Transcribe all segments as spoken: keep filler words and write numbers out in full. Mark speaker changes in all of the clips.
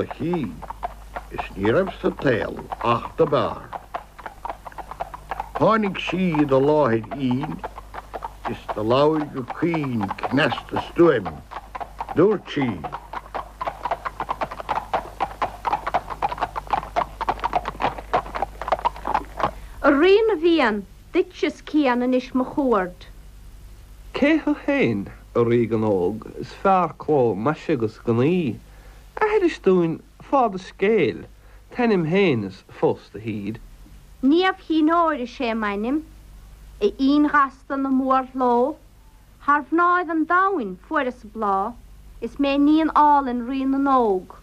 Speaker 1: a chinn, is ní raibh sa tsaol ach do b'fhearr. Tháinig sí i do láthair fhínn is do labhair go caoin cneasta stuaim. Dúirt sí.
Speaker 2: A Rí na bhFiann, duitse is cian anois mo chuaird.
Speaker 3: Cé thú féin, a Ríogan óg, is fearr cló maise agus gnaoi? Aithris dúinn fáth do scéil, t'ainm féin is fós do thír.
Speaker 2: Niamh Chinn Óir is ea m'ainm, a Fhinn ghasta na mórshló, thar mhnáibh an domhain fuaireas bláth, is mé iníon álainn Rí na nÓg.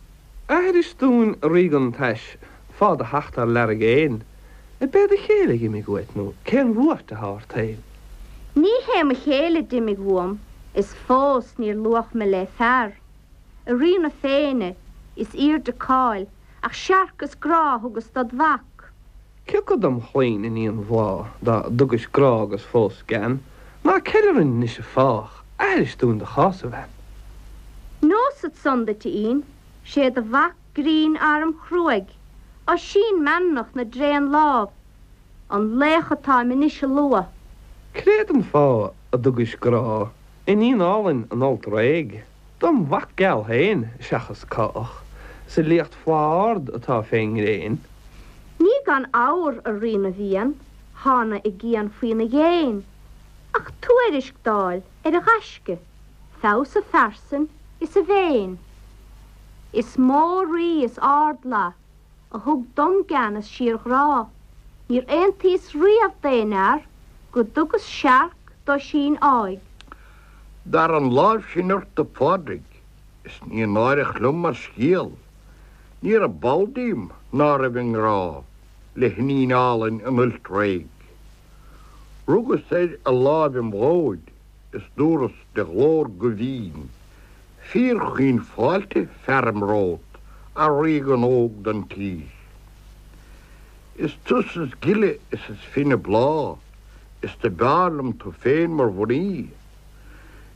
Speaker 3: Aithris dúinn, a Ríogan tais, fáth do theacht ár learg fhéin, ab é do chéile a dh'imigh uait nó cén bhuairt atá ort féin?
Speaker 2: Ní hé mo chéile d'imigh uaim, is fós níor luach mé le fear. A Rí na Féinne, is aoirde cáil, ach searc is grá a thugas dod mhac.
Speaker 3: Cioca dom chlainn, iníon Bhláth, dá dtugais grá agus fós gean, ná ceil orainn anois a fách, aithris dúinn do chás, a bhean.
Speaker 2: Neosad san duit, a Fhinn, 'sé do mhac grinn arm-chruaidh, Oisín meanmnach na dtréan-lámh, an laoch atáim anois a lua.
Speaker 3: Créad an fáth a dtugais grá, iníon álainn an Fholt Réidh, dom mhac geal féin seachas cách, sa liacht fleá ard atá fén ngréin?
Speaker 2: Ní gan fhabhar, a Rí na bhFiann, thána i gcian faoina dhéin, ach tuairisc d'fháil ar a ghaisce, feabhas a phearsain is a mhéin. Is mó rí is ardfhlaith a thug dom gean is síorghrá, níor aontaíos riamh d'aon fhear go dtugas searc d'Oisín áidh.
Speaker 1: Dar an láimh sin ort, a Phádraig, is ní náireach liom mar scéal, ní raibh ball díom ná raibh i ngrá le hiníon álainn an Fhoilt Réidh. Rugas air a láimh im dhóid is dúras de ghlór go bhinn, Fíorchaoin fáilte fearaim romhat, a Ríogan óg don tír. Is tusa is gile is is finne bláth, is do b'fhearr liom tú féin mar mhnaoi.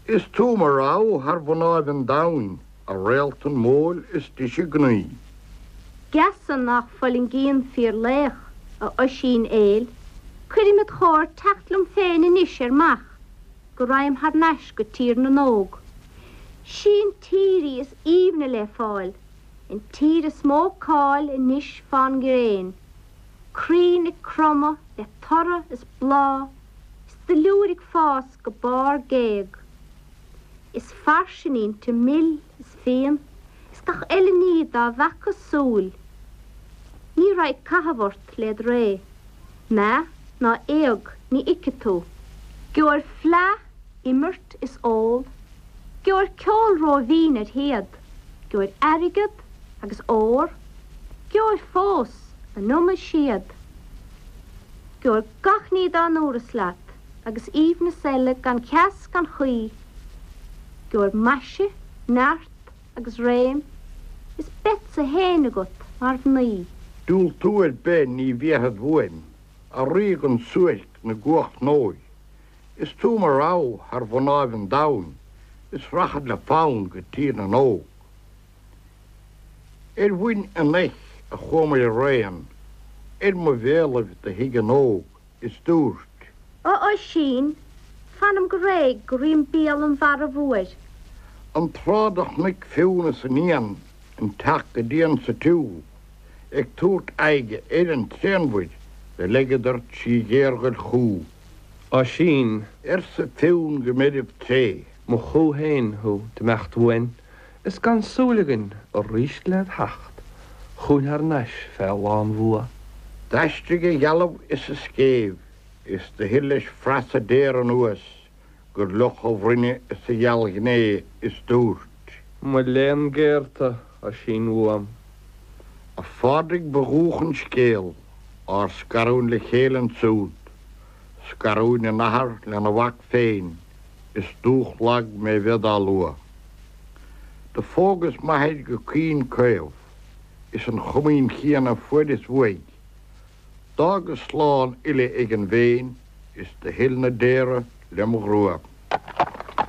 Speaker 1: Is tú mo rogha thar mhnáibh an domhain, a réalt an mhóil is deise gnaoi.
Speaker 2: Geasa nach bhfulaingíonn fíorlaoch, a Oisín aoil, cuirim id chomhair teacht liom féin anois ar mach, go ragham thar n-ais go Tír na nÓg. Sí an tír í is aoibhne le fáil, an tír is mó cáil anois fán ngréin. Crainn ag cromadh le toradh is bláth is duilliúr ag fás go barr géag. Is fairsing inti mil is fíon is gach eile ní dá bhfaca súil. Ní raghaidh caitheamh ort led ré, meath ná éag ní fheicfidh tú. Gheobhair fleadh, imirt is ól, gheobhair ceol rómhín ar théad, gheobhair airgead agus ór, gheobhair fós an iomad siad. Gheobhair gach ní dá ndúras leat agus aoibhneas eile gan cheas gan chaoi. Gheobhair maise, neart agus réim, is beadsa fhéin agat mar mhnaoi.
Speaker 1: Diúltú ar bith ní bhéarfad uaim, a Ríogan suairc na gcuach ndóigh. Is tú mo rogha thar mhnáibh an domhain, is rachad le fonn go Tír na nÓg. Ar mhuin an eich a chuamair araon, ar mo bhéalaibh do shuigh an óg is dúirt.
Speaker 2: A Oisín, fanaim go réidh go rím béal an mhairbh fhuair.
Speaker 1: An tráth do chonaic Fionn is a níon an teach go dian sa tsiúl, ag tabhairt aghaidhe ar an tréanmhuir, do leigeadar trí ghéarghoil chú.
Speaker 3: Oisín.
Speaker 1: Arsa Fionn go meirbh tréith.
Speaker 3: Mo chú féin thú d'imeacht uainn, is gan súil againn aríst led theacht chugainn thar n-ais fé lánbhua.
Speaker 1: D'aistrigh a dhealbh is a scéimh, is do thuill leis frasa daor anuas gur fhliuch a bhroinne is a ghealghné is dúirt.
Speaker 3: Mo léan géar tú, Oisín uaim.
Speaker 1: A Phádraig ba dhúch an scéal, ár scarúint le chéile ansúd, scarúint an athar lena mhac féin, is dúch lag mé bheith dá lua. Do phógas m'athair go caoin caomh, is an chomaoin chéanna fuaireas uaidh. D'fhágas slán uile ag an bhFéinn, is do thuill na daora lem ghrua.